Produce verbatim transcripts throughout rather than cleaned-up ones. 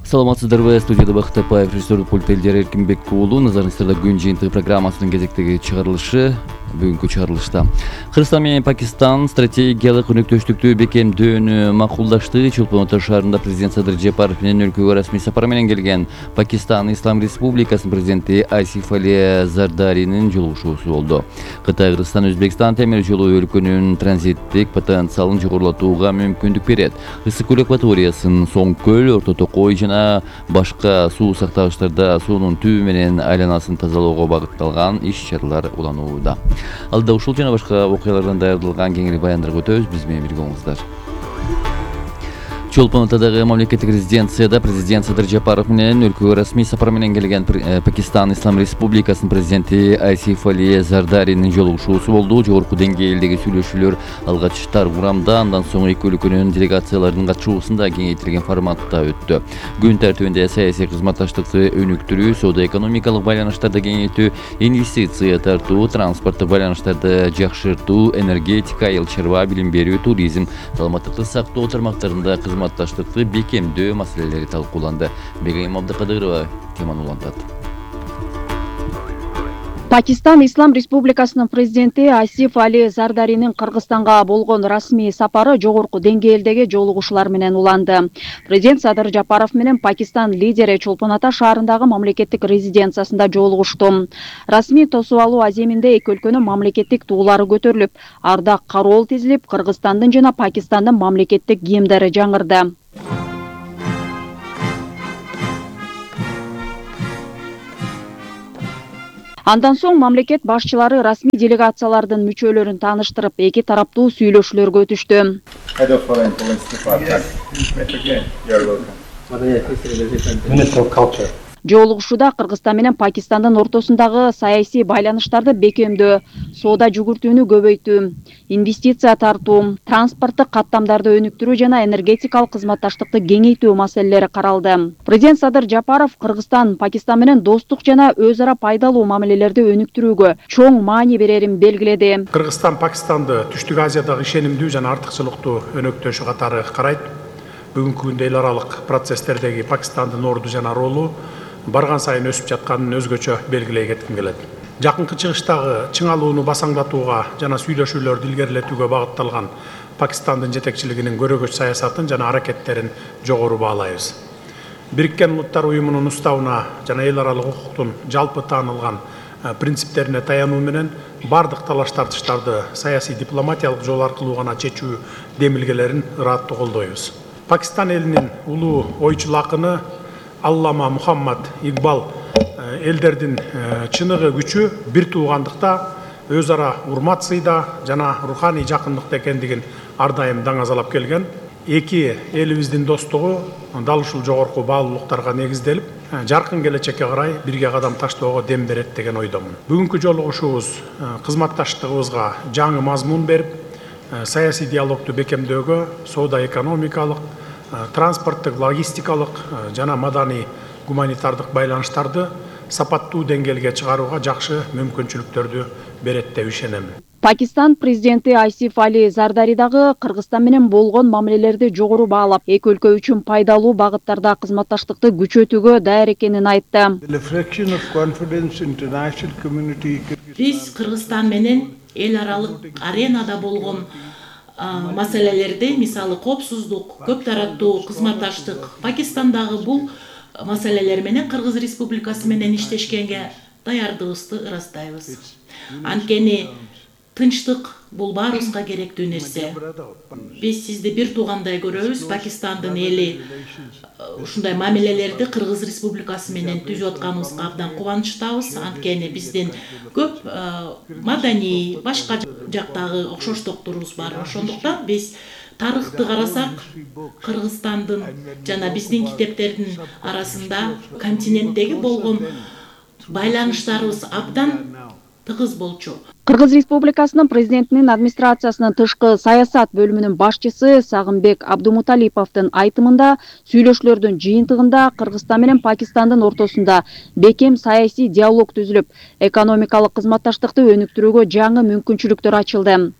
Саламатсыздарбы, студияда Бакыт Тапаев, режиссерлик пульт Элдер Эркинбек уулу. Назарыңыздарда күн жыйынтыгы программасынын кезектеги чыгарылышы бүгүнкү чыгарылышта Кыргызстан менен Пакистан стратегиялык өнөктөштүктү бекемдөөнү макулдашты. Чолпон Ата шаарында президент Садыр Жапаров менен өлкөгө расмий сапар менен келген Пакистан Ислам Республикасынын президенти Асиф Али Зардаринин жолугушуусу болду. Кытай, Кыргызстан, Өзбекстан темир жолу өлкөнүн транзиттик потенциалын жогорулатууга мүмкүндүк берет. Ысык көл акваториясын, Соң көл, Орто Токой жана башка суу сактагычтарда суунун түбү менен айланасын тазалоого багытталган иш-чаралар уланууда. Алда ушул жана башка окуялардан даярдалган кеңири баяндарга өтөбүз. Биз менен бирге болуңуздар. Чолпон Атадагы мамлекеттик резиденцияда президент Садыр Жапаров менен өлкөгө расмий сапар менен келген Пакистан Ислам Республикасынын президенти Асиф Али Зардаринин жолугушуусу болду. Жогорку деңгээлдеги сүйлөшүүлөр алгач тар курамда, андан соң эки өлкөнүн делегацияларынын катышуусунда кеңейтилген форматта өттү. Күн тартибинде саясий кызматташтыкты өнүктүрүү, соода-экономикалык байланыштарды кеңейтүү, инвестиция тартуу, транспорттук байланыштарды жакшыртуу, энергетика, айыл чарба, билим берүү, туризм, саламаттыкты сактоо тармактарында кызматташтыкты бекемдөө маселелери талкууланды. Бегайым Абдыкадырова теманы улантат. Пакистан Ислам Республикасынын президенти Асиф Али Зардаринин Кыргызстанга болгон расмий сапары жогорку деңгээлдеги жолугушуулар менен уланды. Президент Садыр Жапаров менен Пакистан лидери Чолпон Ата шаарындагы мамлекеттик резиденциясында жолугушту. Расмий тосуп алуу аземинде эки өлкөнүн мамлекеттик туулары көтөрүлүп, ардак кароол тизилип, Кыргызстандын жана Пакистандын мамлекеттик гимндери жаңырды. Андан соң мамлекет башчылары расмий делегациялардын мүчөлөрүн тааныштырып, эки тараптуу сүйлөшүүлөргө өтүштү. Жолугушууда Кыргызстан менен Пакистандын ортосундагы саясий байланыштарды бекемдөө, соода жүгүртүүнү көбөйтүү, инвестиция тартуу, транспорттук каттамдарды өнүктүрүү жана энергетикалык кызматташтыкты кеңейтүү маселелери каралды. Президент Садыр Жапаров Кыргызстан Пакистан менен достук жана өз ара пайдалуу мамилелерди өнүктүрүүгө чоң маани берерин белгиледи. Кыргызстан Пакистанды Түштүк Азиядагы ишенимдүү жана артыкчылыктуу өнөктөшү катары карайт. Бүгүнкү күндө эл аралык процесстердеги Пакистандын орду жана ролу барган сайын өсүп жатканын өзгөчө белгилей кетким келет. Жакынкы чыгыштагы чыңалууну басаңдатууга жана сүйлөшүүлөрдү илгерилетүүгө багытталган Пакистандын жетекчилигинин көрөгөч саясатын жана аракеттерин жогору баалайбыз. Бириккен Улуттар уюмунун уставына жана эл аралык укуктун жалпы таанылган принциптерине таянуу менен бардык талаш тартыштарды саясий дипломатиялык жол аркылуу гана чечүү демилгелерин ыраттуу колдойбуз. Пакистан элинин улуу ойчул акыны Аллама Мухаммад Игбал элдердин чыныгы күчү бир туугандыкта, өз ара урмат сыйда жана руханий жакындыкта экендигин ар дайым даңазалап келген. Эки элибиздин достугу дал ушул жогорку баалуулуктарга негизделип, жаркын келечекке карай бирге кадам таштоого дем берет деген ойдомун. Бүгүнкү жолугушуубуз кызматташтыгыбызга жаңы мазмун берип, саясий диалогду бекемдөөгө, соода-экономикалык, транспорттук, логистикалык жана маданий гуманитардык байланыштарды сапаттуу деңгээлге чыгарууга жакшы мүмкүнчүлүктөрдү берет деп ишенем. Пакистан президенти Асиф Али Зардари дагы Кыргызстан менен болгон мамилелерди жогору баалап, эки өлкө үчүн пайдалуу багыттарда кызматташтыкты күчөтүүгө даяр экенин айтты. Биз Кыргызстан менен эл аралык аренада болгон маселелерди, мисалы коопсуздук, көп тараттуу кызматташтык, Пакистандагы бул маселелер менен Кыргыз Республикасы менен иштешкенге даярдыгыбызды ырастайбыз. Анткени тынчтык бул баарыбызга керектүү нерсе. Биз сизди бир туугандай көрөбүз. Пакистандын эли ушундай мамилелерди Кыргыз Республикасы менен түзүп атканыбызга абдан кубанычтабыз. Анткени биздин көп маданий, башка жактагы окшоштукторубуз бар. Ошондуктан биз тарыхты карасак, Кыргызстандын жана биздин китептердин арасында континенттеги болгон байланыштарыбыз абдан тыгыз болчу. Кыргыз Республикасынын президентинин администрациясынын тышкы саясат бөлүмүнүн башчысы Сагынбек Абдумуталиповдун айтымында сүйлөшүүлөрдүн жыйынтыгында Кыргызстан менен Пакистандын ортосунда бекем саясий диалог түзүлүп, экономикалык кызматташтыкты өнүктүрүүгө жаңы мүмкүнчүлүктөр ачылды.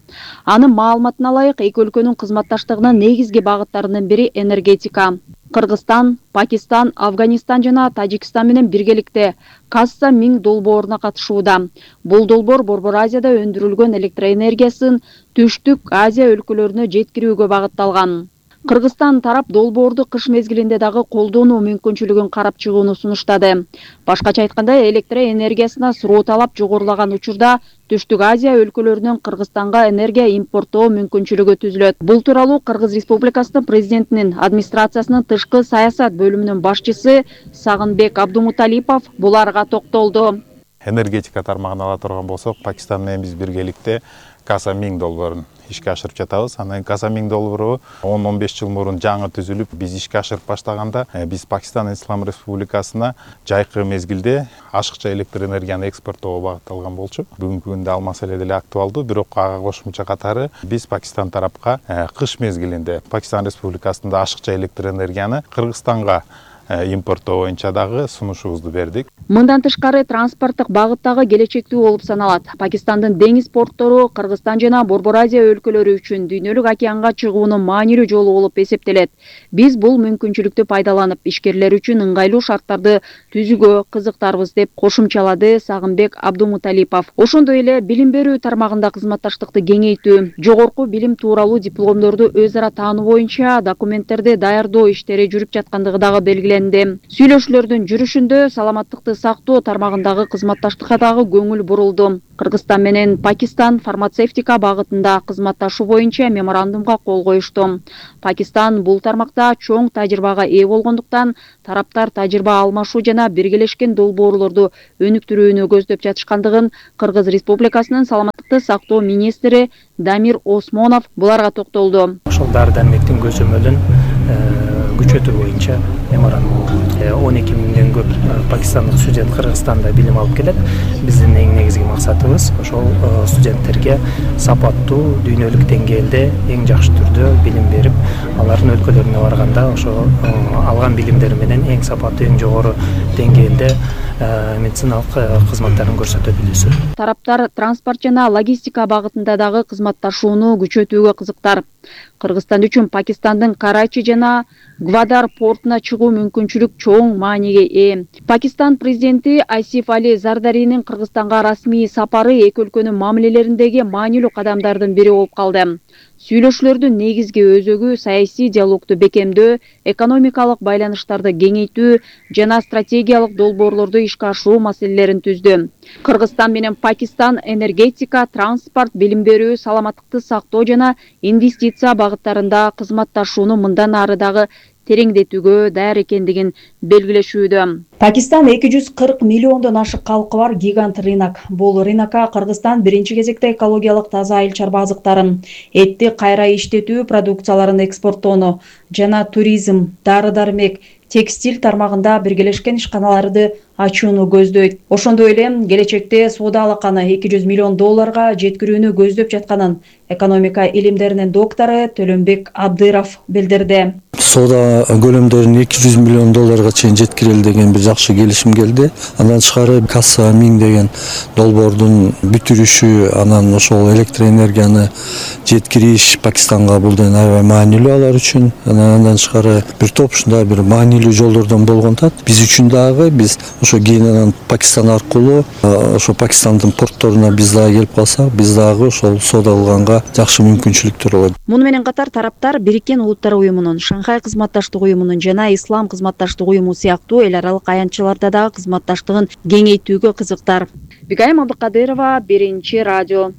Анын маалыматына ылайык, эки өлкөнүн кызматташтыгынын негизги багыттарынын бири энергетика. Кыргызстан, Пакистан, Афганистан жана Тажикстан менен биргеликте Касса миң долбооруна катышууда. Бул долбоор Борбор Азияда өндүрүлгөн электроэнергиясын Түштүк Азия өлкөлөрүнө жеткирүүгө багытталган. Кыргызстан тарап долбоорду кыш мезгилинде дагы колдонуу мүмкүнчүлүгүн карап чыгууну сунуштады. Башкача айтканда, электроэнергиясына суроо талап жогорулаган учурда Түштүк Азия өлкөлөрүнөн Кыргызстанга энергия импорттоо мүмкүнчүлүгү түзүлөт. Бул тууралуу Кыргыз Республикасынын президентинин администрациясынын тышкы саясат бөлүмүнүн башчысы Сагынбек Абдумуталипов буларга токтолду. Энергетика тармагын ала турган болсок, Пакистан менен биз биргеликте Касса миң долбоорун ишке ашырып жатабыз. Анан Касса миң долбоору он он беш жыл мурун жаңы түзүлүп, биз ишке ашырып баштаганда, биз Пакистан Ислам Республикасына жайкы мезгилде ашыкча электр энергияны экспорттоого багытталган болчу. Бүгүнкү күндө ал маселе деле актуалдуу, бирок ага кошумча катары биз Пакистан тарапка кыш мезгилинде Пакистан Республикасында ашыкча электр энергияны Кыргызстанга импорттоо боюнча дагы сунушубузду бердик. Мындан тышкары транспорттук багыттагы келечектүү болуп саналат. Пакистандын деңиз порттору Кыргызстан жана Борбор Азия өлкөлөрү үчүн дүйнөлүк океанга чыгуунун маанилүү жолу болуп эсептелет. Биз бул мүмкүнчүлүктү пайдаланып, ишкерлер үчүн ыңгайлуу шарттарды түзүүгө кызыктарбыз деп кошумчалады Сагынбек Абдумуталипов. Ошондой эле билим берүү тармагында кызматташтыкты кеңейтүү, жогорку билим тууралуу дипломдорду өз ара таануу боюнча документтерди даярдоо иштери жүрүп жаткандыгы дагы белгиленди. Сүйлөшүүлөрдүн жүрүшүндө саламаттыкты сактоо тармагындагы кызматташтыкка дагы көңүл бурулду. Кыргызстан менен Пакистан фармацевтика багытында кызматташуу боюнча меморандумга кол коюшту. Пакистан бул тармакта чоң тажрыйбага ээ болгондуктан тараптар тажрыйба алмашуу жана биргелешкен долбоорлорду өнүктүрүүнү көздөп жатышкандыгын Кыргыз Республикасынын саламаттыкты сактоо министри Дамир Осмонов буларга токтолду. Ошол дары дармектин көзөмөлүн күчөтүү боюнча меморандум он эки миңден көп пакистандык студент Кыргызстанда билим алып келет. Биздин эң негизги максатыбыз ошол студенттерге сапаттуу дүйнөлүк деңгээлде эң жакшы түрдө билим берип, алардын өлкөлөрүнө барганда ошо алган билимдери менен эң сапаттуу, эң жогору деңгээлде медициналык кызматтарын көрсөтө билүүсү. Тараптар транспорт жана логистика багытында дагы кызматташууну күчөтүүгө кызыктар. Кыргызстан үчүн Пакистандын Карачи жана Гвадар портуна чыгуу мүмкүнчүлүк чоң мааниге ээ. Пакистан президенти Асиф Али Зардаринин Кыргызстанга расмий сапары эки өлкөнүн мамилелериндеги маанилүү кадамдардын бири болуп калды. Сүйлөшүүлөрдүн негизги өзөгү саясий диалогду бекемдөө, экономикалык байланыштарды кеңейтүү жана стратегиялык долбоорлорду ишке ашыруу маселелерин түздү. Кыргызстан менен Пакистан энергетика, транспорт, билим берүү, саламаттыкты сактоо жана инвестиция багыттарында кызматташууну мындан ары дагы тереңдетүүгө даяр экендигин белгилешүүдө. Пакистан эки жүз кырк миллиондон ашык калкы бар гигант рынок. Бул рынокко Кыргызстан биринчи кезекте экологиялык таза айыл чарба азыктарын, этти кайра иштетүү продукцияларын экспорттоону жана туризм, дары-дармек, текстиль тармагында биргелешкен ишканаларды ачууну көздөйт. Ошондой эле келечекте соода алаканы эки жүз миллион долларга жеткирүүнү көздөп жатканын экономика илимдеринин доктору Төлөнбек Абдыров билдирди. Соода көлөмдөрүн эки жүз миллион долларга чейин жеткирели деген бир жакшы келишим келди. Андан тышкары Касса миң деген долбоордун бүтүрүшү, анан ошол электроэнергияны жеткириш Пакистанга бул да аябай маанилүү алар үчүн. Андан тышкары бир топ ушундай бир маанилүү жолдордон болгонтат. Биз үчүн дагы биз ошо кийинен Пакистан аркылуу ошо Пакистандын портторуна биз дагы келип калсак, биз дагы ошол соода кылганга жакшы мүмкүнчүлүктөр болот. Муну менен катар тараптар Бириккен Улуттар уюмунун, Шанхай кызматташтык уюмунун жана Ислам кызматташтык уюму сыяктуу эл аралык аянтчаларда дагы кызматташтыгын кеңейтүүгө кызыктар. Бигайым Абдыкадырова, Биринчи радио.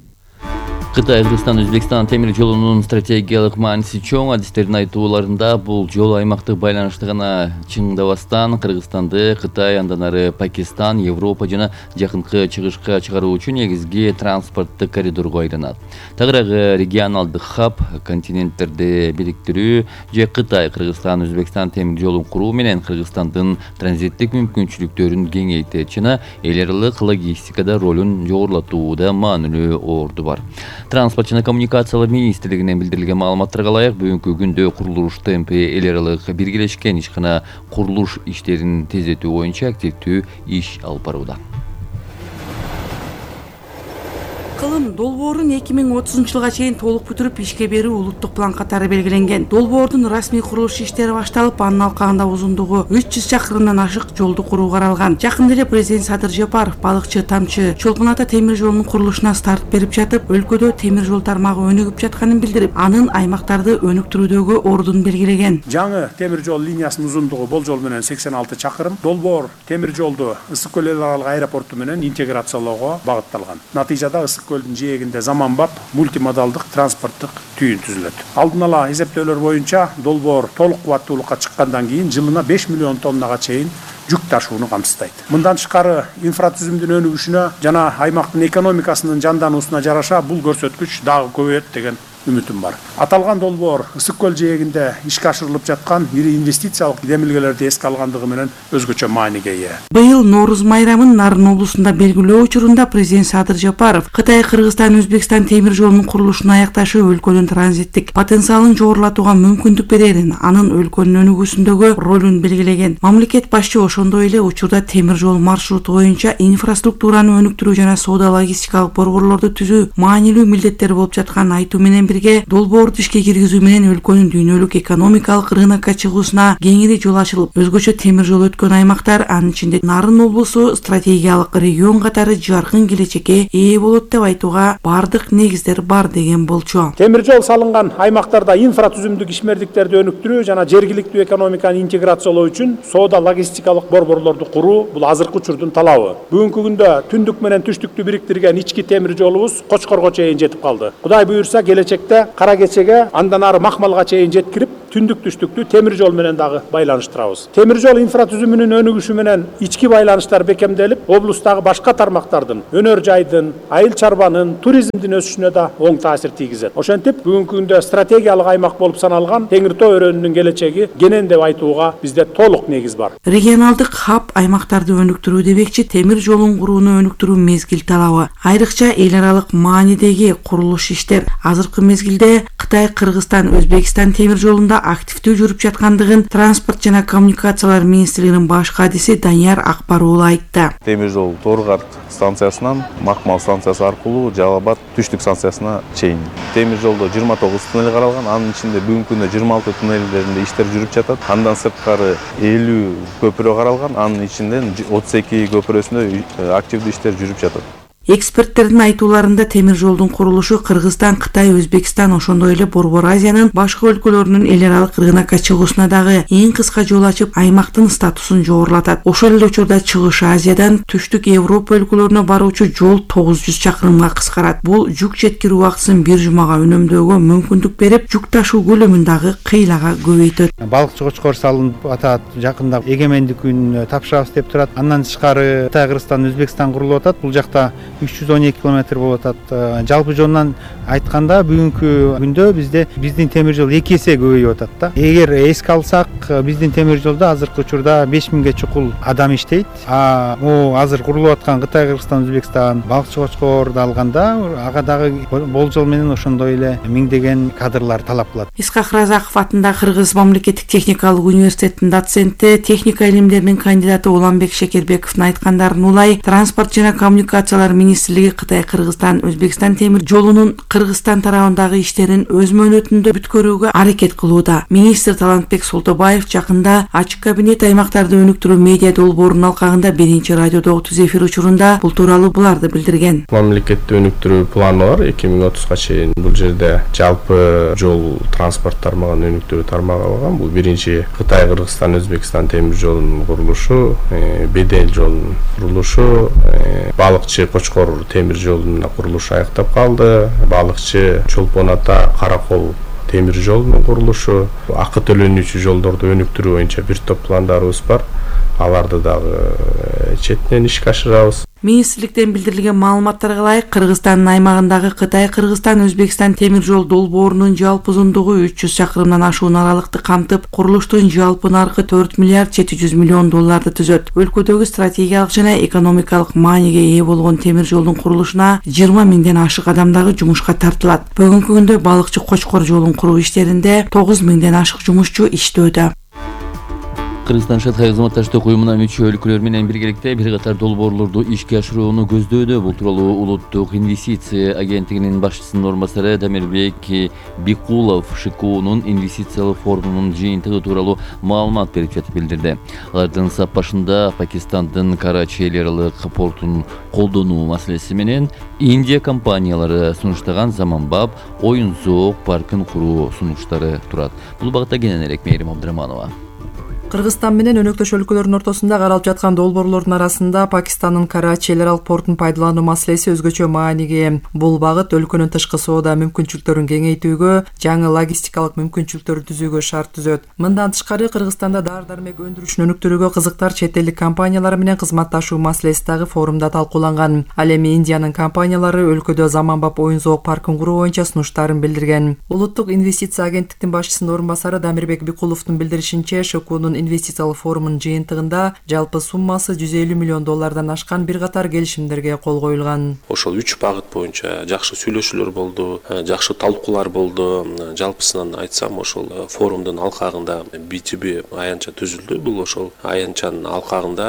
Кытай, Кыргызстан, Өзбекстан темир жолунун стратегиялык мааниси чоң. Адистердин айтууларында бул жол аймактык байланышты гана чыңдабастан Кыргызстанды Кытай, андан ары Пакистан, Европа жана жакынкы чыгышка чыгаруу үчүн негизги транспорттук коридорго айланат. Тагыраагы регионалдык хаб, континенттерди бириктирүү же Кытай, Кыргызстан, Өзбекстан темир жолун куруу менен Кыргызстандын транзиттик мүмкүнчүлүктөрүн кеңейтет жана эл аралык логистикада ролун жогорулатууда маанилүү орду бар. Транспорт жана коммуникациялар министрлигинен билдирилген маалыматтарга ылайык, бүгүнкү күндө курулуш темпи эл аралык биргелешкен ишкана курулуш иштерин тездетүү боюнча активдүү иш алып барууда. кылым долбоорун эки миң отузунчу жылга чейин толук бүтүрүп ишке берүү улуттук план катары белгиленген. Долбоордун расмий курулуш иштери башталып, анын алкагында узундугу үч жүз чакырымдан ашык жолду куруу каралган. Жакында эле президент Садыр Жапаров балыкчы Тамчы Чолпон Ата темир жолунун курулушуна старт берип жатып, өлкөдө темир жол тармагы өнүгүп жатканын билдирип, анын аймактарды өнүктүрүүдөгү ордун белгилеген. Жаңы темир жол линиясынын узундугу болжол менен сексен алты чакырым. Долбоор темир жолду Ысык көл эл аралык аэропорту менен интеграциялоого багытталган. Натыйжада Ысык көлдүн жээгинде заманбап мультимодалдык транспорттук түйүн түзүлөт. Алдын ала эсептөөлөр боюнча долбоор толук кубаттуулукка чыккандан кийин жылына беш миллион тоннага чейин жүк ташууну камсыздайт. Мындан тышкары инфратүзүмдүн өнүгүшүнө жана аймактын экономикасынын жандануусуна жараша бул көрсөткүч дагы көбөйөт деген үмүтүм бар. Аталган долбоор Ысык көл жээгинде ишке ашырылып жаткан ири инвестициялык демилгелерди эске алгандыгы менен өзгөчө мааниге ээ. Быйыл Нооруз майрамын Нарын облусунда белгилөө учурунда президент Садыр Жапаров Кытай, Кыргызстан, Өзбекстан темир жолунун курулушун аякташы өлкөнүн транзиттик потенциалын жогорулатууга мүмкүндүк берерин, анын өлкөнүн өнүгүүсүндөгү ролун белгилеген. Мамлекет башчы ошондой эле учурда темир жол маршруту боюнча инфраструктураны өнүктүрүү жана соода логистикалык борборлорду түзүү маанилүү милдеттер болуп жатканын айтуу менен бирге долбоорду ишке киргизүү менен өлкөнүн дүйнөлүк экономикалык рынокко чыгуусуна кеңири жол ачылып, өзгөчө темир жол өткөн аймактар, анын ичинде Нарын облусу стратегиялык регион катары жаркын келечекке ээ болот деп айтууга бардык негиздер бар деген болчу. Темир жол салынган аймактарда инфратүзүмдүк ишмердиктерди өнүктүрүү жана жергиликтүү экономиканы интеграциялоо үчүн соода логистикалык борборлорду куруу бул азыркы учурдун талабы. Бүгүнкү күндө түндүк менен түштүктү бириктирген ички темир жолубуз Кочкорго чейин жетип калды. Кудай буюрса келечекте Кара Кечеге, андан ары Макмалга чейин жеткирип, түндүк түштүктү темир жол менен дагы байланыштырабыз. Темир жол инфратүзүмүнүн өнүгүшү менен ички байланыштар бекемделип, облустагы башка тармактардын, өнөр жайдын, айыл чарбанын, туризмдин өсүшүнө да оң таасир тийгизет. Ошентип, бүгүнкү күндө стратегиялык аймак болуп саналган Теңир Тоо өрөөнүнүн келечеги кенен деп айтууга бизде толук негиз бар. Регионалдык хаб аймактарды өнүктүрүү демекчи темир жолун курууну өнүктүрүү мезгил талабы. Айрыкча эл аралык маанидеги курулуш иштер азыркы мезгилде Кытай, Кыргызстан, Өзбекстан темир жолунда активдүү жүрүп жаткандыгын Транспорт жана коммуникациялар министрлигинин баш кадиси Данияр Акбар уулу айтты. Темир жол Торгарт станциясынан Макмал станциясы аркылуу Жалал Абад түштүк станциясына чейин. Темир жолдо жыйырма тогуз туннель каралган, анын ичинде бүгүнкү күндө жыйырма алты туннелдеринде иштер жүрүп жатат. Андан сырткары элүү көпүрө каралган, анын ичинен отуз эки көпүрөсүндө активдүү иштер жүрүп жатат. Эксперттердин айтууларында темир жолдун курулушу Кыргызстан, Кытай, Өзбекстан, ошондой эле Борбор Азиянын башка өлкөлөрүнүн эл аралык рынокко чыгуусуна дагы эң кыска жол ачып, аймактын статусун жогорулатат. Ошол эле учурда Чыгыш Азиядан түштүк Европа өлкөлөрүнө баруучу жол тогуз жүз чакырымга кыскарат. Бул жүк жеткирүү убактысын бир жумага үнөмдөөгө мүмкүндүк берип, жүк ташуу көлөмүн дагы кыйлага көбөйтөт. Балыкчы Кочкор салынып атат, жакында эгемендик күн тапшырабыз деп турат. Андан тышкары Кытай, Кыргызстан, Өзбекстан курулуп атат. Бул жакта үч жүз он эки километр болуп атат. Жалпы жонунан айтканда бүгүнкү күндө бизде биздин темир жол эки эсе көбөйүп атат да. Эгер эске алсак, биздин темир жолдо азыркы учурда беш миңге чукул адам иштейт. А могу азыр курулуп аткан Кытай, Кыргызстан, Өзбекстан, Балыкчы Кочкорду алганда ага дагы болжол менен ошондой эле миңдеген кадрлар талап кылат. Исхак Разаков атындагы Кыргыз мамлекеттик техникалык университетинин доценти, техника илимдеринин кандидаты Уланбек Шекербековдун айткандарын улай, Транспорт жана коммуникациялар министрлиги Кытай, Кыргызстан, Өзбекстан темир жолунун Кыргызстан тарабындагы иштерин өз мөөнөтүндө бүткөрүүгө аракет кылууда. Министр Талантбек Солтобаев жакында ачык кабинет аймактарды өнүктүрүү медиа долбоорунун алкагында биринчи радиодо отуз эфир учурунда бул тууралуу буларды билдирген. Мамлекетти өнүктүрүү планы бар эки миң отузга чейин. Бул жерде жалпы жол транспорт тармагын өнүктүрүү тармагы алган. Бул биринчи Кытай, Кыргызстан, Өзбекстан темир жолунун курулушу, Бедел жолунун курулушу, Балыкчы Кочкор темир жолунун курулушу аяктап калды. Балыкчы Чолпон Ата Каракол темир жолунун курулушу, акы төлөнүүчү жолдорду өнүктүрүү боюнча бир топ пландарыбыз бар. Аларды дагы четинен ишке ашырабыз. Министрликтен билдирилген маалыматтарга ылайык, Кыргызстандын аймагындагы Кытай, Кыргызстан, Өзбекстан темир жол долбоорунун жалпы узундугу үч жүз чакырымдан ашуун аралыкты камтып, курулуштун жалпы наркы төрт миллиард жети жүз миллион долларды түзөт. Өлкөдөгү стратегиялык жана экономикалык мааниге ээ болгон темир жолдун курулушуна жыйырма миңден ашык адам дагы жумушка тартылат. Бүгүнкү күндө Балыкчы Кочкор жолун куруу иштеринде тогуз миңден ашык жумушчу иштөөдө. Кыргызстан Шанхай кызматташтык уюмуна мүчө өлкөлөр менен биргеликте бир катар долбоорлорду ишке ашырууну көздөөдө. Бул тууралуу Улуттук инвестиция агенттигинин башчысынын орун басары Дамирбек Бикулов ШКУнун инвестициялык форумунун жыйынтыгы тууралуу маалымат берип жатып билдирди. Алардын сап башында Пакистандын Карачи эл аралык портун колдонуу маселеси менен Индия компаниялары сунуштаган заманбап оюн зоок паркын куруу сунуштары турат. Бул багытта кененирээк Мээрим Абдыраманова. Кыргызстан менен өнөктөш өлкөлөрдүн ортосунда каралып жаткан долбоорлордун арасында Пакистандын Карачи эл аралык портун пайдалануу маселеси өзгөчө мааниге. Бул багыт өлкөнүн тышкы соода мүмкүнчүлүктөрүн кеңейтүүгө, жаңы логистикалык мүмкүнчүлүктөрдү түзүүгө шарт түзөт. Мындан тышкары Кыргызстанда дары-дармек өндүрүшүн өнүктүрүүгө кызыктар чет элдик компаниялар менен кызматташуу маселеси дагы форумда талкууланган. Ал эми Индиянын компаниялары өлкөдө заманбап оюн зоок паркын куруу боюнча сунуштарын билдирген. Улуттук инвестиция агенттиктин башчысынын орун басары Дамирбек Бикуловдун билдиришинче, ШКУнун инвестициялык форумунун жыйынтыгында жалпы суммасы жүз элүү миллион доллардан ашкан бир катар келишимдерге кол коюлган. Ошол үч багыт боюнча жакшы сүйлөшүүлөр болду, жакшы талкуулар болду. Жалпысынан айтсам, ошол форумдун алкагында би ту би аянтча түзүлдү. Бул ошол аянтчанын алкагында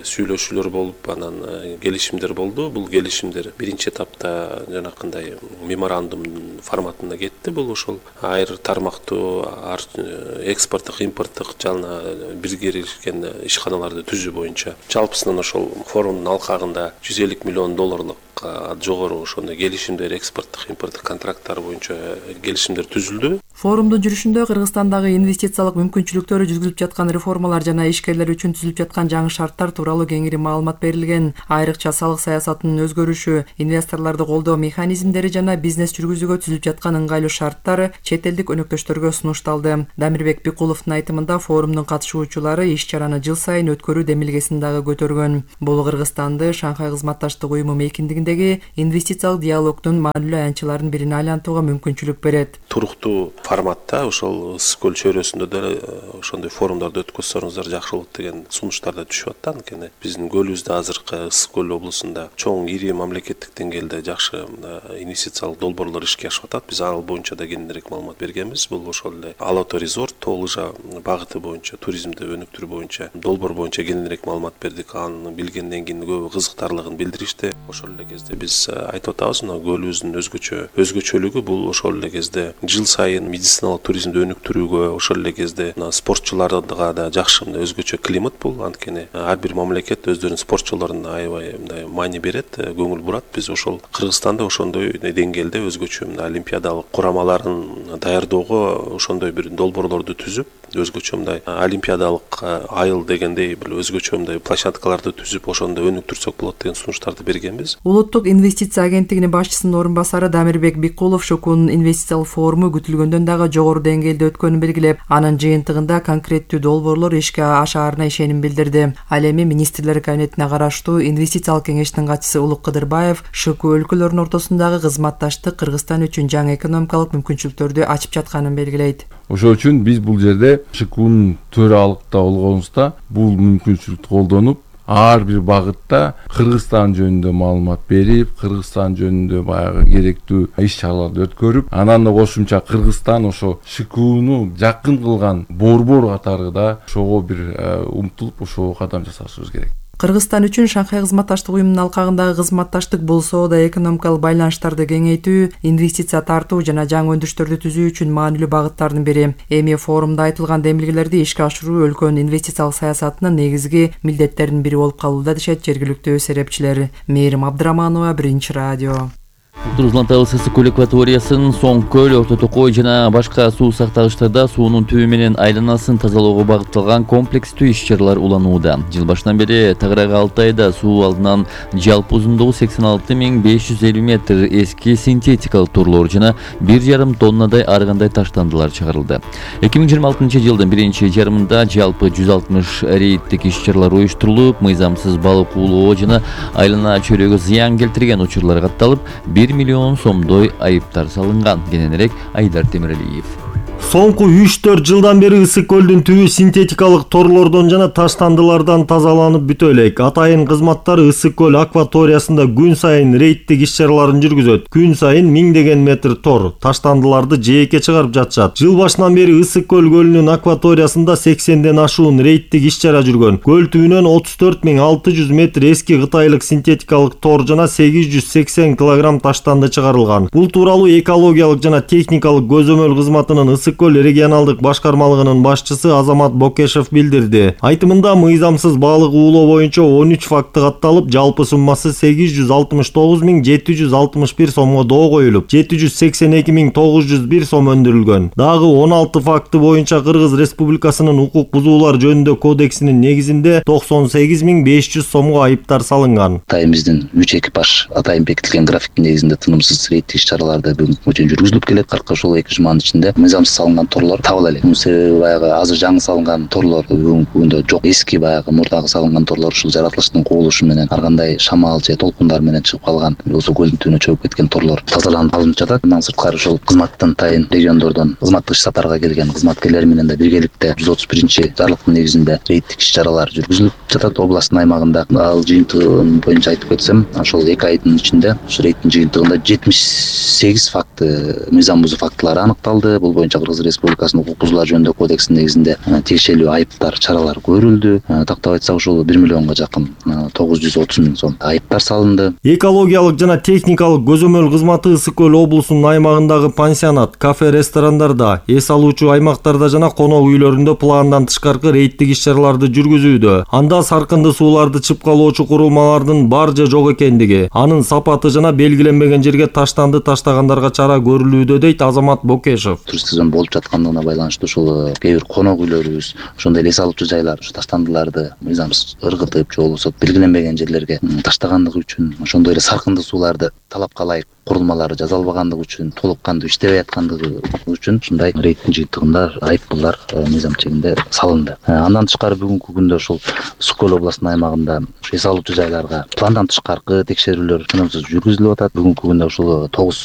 сүйлөшүүлөр болуп, анан келишимдер болду. Бул келишимдер биринчи этапта жанакындай меморандум форматында кетти. Бул ошол айыр тармактуу экспорттук, импорттук жана биргелешкен ишканаларды түзүү боюнча жалпысынан ошол форумдун алкагында жүз элүү миллион долларлык жогору ошондой келишимдер, экспорттук, импорттук контракттар боюнча келишимдер түзүлдү. Форумдун жүрүшүндө Кыргызстандагы инвестициялык мүмкүнчүлүктөрү жүзүлүп жаткан реформалар жана ишкерлер үчүн түзүлүп жаткан жаңы шарттар тууралуу кеңири маалымат берилген. Айрыкча салык саясатынын өзгөрүшү, инвесторлорду колдоо механизмдери жана бизнес жүргүзүүгө түзүлүп жаткан ыңгайлуу шарттар чет элдик өнөктөштөргө сунушталды. Дамирбек Бикуловдун айтымында форумдун катышуучулары иш-чараны жыл сайын өткөрүү демилгесин дагы көтөргөн. Бул Кыргызстанды Шанхай кызматташтык уюму мейкиндигиндеги инвестициялык диалогдун маанилүү аянтчыларынын бирине айлантууга мүмкүнчүлүк берет. Туруктуу форматта ошол Ысык көл чөйрөсүндө да ошондой форумдарды өткөзсөңүздөр жакшы болот деген сунуштар да түшүп атат. Анткени биздин көлүбүздө азыркы Ысык көл облусунда чоң ири мамлекеттик деңгээлде жакшы инвестициялык долбоорлор ишке ашып атат. Биз ал боюнча да кененирээк маалымат бергенбиз. Бул ошол эле Ала Тоо резорт, Тоо Лыжа багыты боюнча, туризмди өнүктүрүү боюнча долбоор боюнча кененирээк маалымат бердик. Аны билгенден кийин көбү кызыктарлыгын билдиришти. Ошол эле кезде биз айтып атабыз, мына көлүбүздүн өзгөчө өзгөчөлүгү бул ошол эле кезде жыл сайын медициналык туризмди өнүктүрүүгө, ошол эле кезде спортчуларга да жакшы өзгөчө климат бул. Анткени ар бир мамлекет өздөрүнүн спортчуларына аябай мындай маани берет, көңүл бурат. Биз ошол Кыргызстанда ошондой деңгээлде өзгөчө олимпиадалык курамаларын даярдоого ошондой бир долбоорлорду түзүп, өзгөчө мындай олимпиадалык айыл дегендей бир өзгөчө мындай площадкаларды түзүп, ошондо өнүктүрсөк болот деген сунуштарды бергенбиз. Улуттук инвестиция агенттигинин башчысынын орун басары Дамирбек Бикулов ШКУнун инвестициялык форуму күтүлгөндөн дагы жогору деңгээлде өткөнүн белгилеп, анын жыйынтыгында конкреттүү долбоорлор ишке ашаарына ишеним билдирди. Ал эми министрлер кабинетине караштуу инвестициялык кеңештин катчысы Улук Кыдырбаев ШКУ өлкөлөрүнүн ортосундагы кызматташтык Кыргызстан үчүн жаңы экономикалык мүмкүнчүлүктөрдү ачып жатканын белгилейт. Ошол үчүн биз бул жерде ШКУнун төралыкта болгонубузда бул мүмкүнчүлүктү колдонуп, ар бир багытта Кыргызстан жөнүндө маалымат берип, Кыргызстан жөнүндө баягы керектүү иш-чараларды өткөрүп, анан да кошумча Кыргызстан ошо ШКУну жакын кылган борбор катары да ошого бир умтулуп, ошого кадам жасашыбыз керек. Кыргызстан үчүн Шанхай кызматташтык уюмунун алкагындагы кызматташтык бул соода экономикалык байланыштарды кеңейтүү, инвестиция тартуу жана жаңы өндүрүштөрдү түзүү үчүн маанилүү багыттардын бири. Эми форумда айтылган демилгелерди ишке ашыруу өлкөнүн инвестициялык саясатынын негизги милдеттеринин бири болуп калууда дешет жергиликтүү серепчилер. Мээрим Абдыраманова, Биринчи радио. Улуттук Ысык көл акваториясын, Соң көл, Орто Токой жана башка суу сактагычтарда суунун түбү менен айланасын тазалоого багытталган комплекстүү иш-чаралар уланууда. Жыл башынан бери тагыраагы алты айда суу алдынан жалпы узундугу сексен алты миң беш жүз элүү метр эски синтетикалык торлор жана бир жарым тоннадай ар кандай таштандылар чыгарылды. эки миң жыйырма алтынчы жылдын биринчи жарымында жалпы жүз алтымыш рейдтик иш-чаралар уюштурулуп, мыйзамсыз балык уулоо жана айлана чөйрөгө зыян келтирген учурлар катталып, бир миллион сомдой айыптар салынган. Кененирээк Айдар Темиралиев. Соңку үч төрт жылдан бери Ысык көлдүн түбү синтетикалык торлордон жана таштандылардан тазаланып бүтө элек. Атайын кызматтар Ысык көл акваториясында күн сайын рейдтик иш-чараларын жүргүзөт. Күн сайын миңдеген метр тор, таштандыларды жээкке чыгарып жатышат. Жыл башынан бери Ысык көл көлүнүн акваториясында сексенден ашуун рейдтик иш-чара жүргөн. Көл түбүнөн отуз төрт миң алты жүз метр эски кытайлык синтетикалык тор жана сегиз жүз сексен килограмм таштанды чыгарылган. Бул тууралуу экологиялык жана техникалык көзөмөл кызматынын Ысык көл регионалдык башкармалыгынын башчысы Азамат Бокешев билдирди. Айтымында мыйзамсыз балык уулоо боюнча он үч факты катталып, жалпы суммасы сегиз жүз алтымыш тогуз миң жети жүз алтымыш бир сомго доо коюлуп, жети жүз сексен эки миң тогуз жүз бир сом өндүрүлгөн. Дагы он алты факты боюнча Кыргыз Республикасынын укук бузуулар жөнүндө кодексинин негизинде токсон сегиз миң беш жүз сомго айыптар салынган. Атайын биздин үч экипаж атайын бекитилген графиктин негизинде тынымсыз рейдтик иш-чараларды бүгүнкү күнгө чейин жүргүзүлүп келет. Кыркы ушул эки жуманын ичинде мыйзамсыз салынган торлор табыла элек. Мунун себеби баягы азыр жаңы салынган торлор бүгүнкү күндө жок. Эски баягы мурдагы салынган торлор ушул жаратылыштын кубулушу менен ар кандай шамал же толкундар менен чыгып калган, болсо көлдүн түбүнө чөгүп кеткен торлор тазаланып алынып жатат. Мындан сырткары ушул кызматтан тайын региондордон кызматтык иш сапарга келген кызматкерлер менен да биргеликте жүз отуз биринчи жарлыктын негизинде рейдтик иш-чаралар жүргүзүлүп жатат областтын аймагында. Ал жыйынтыгы боюнча айтып кетсем, ошол эки айдын ичинде ушу рейдтин жыйынтыгында жетимиш сегиз факты мыйзам бузуу фактылары аныкталды. Бул боюнча Кыргыз Республикасынын укук бузуулар жөнүндө кодексинин негизинде тиешелүү айыптар, чаралар көрүлдү. Тактап айтсак, ушул бир миллионго жакын тогуз жүз отуз миң сом айыптар салынды. Экологиялык жана техникалык көзөмөл кызматы Ысык көл облусунун аймагындагы пансионат, кафе, ресторандарда, эс алуучу аймактарда жана конок үйлөрүндө пландан тышкаркы рейдтик иш-чараларды жүргүзүүдө. Анда саркынды сууларды чыпкалоочу курулмалардын бар же жок экендиги, анын сапаты жана белгиленбеген жерге таштанды таштагандарга чара көрүлүүдө, дейт Азамат Бокешев. Туристик сезон болуп жаткандыгына байланыштуу ушул кээ бир конок үйлөрүбүз, ошондой эле эс алуучу жайлар ушу таштандыларды мыйзамсыз ыргытып же болбосо белгиленбеген жерлерге таштагандыгы үчүн, ошондой эле саркынды сууларды талапка ылайык курулмалары жасалбагандыгы үчүн, толук кандуу иштебей аткандыгы үчүн ушундай рейдтин жыйынтыгында айыппулдар мыйзам чегинде салынды. Андан тышкары бүгүнкү күндө ушул Ысык көл областынын аймагында эс алуучу жайларга пландан тышкаркы текшерүүлөр тынымсыз жүргүзүлүп атат. Бүгүнкү күндө ушул тогуз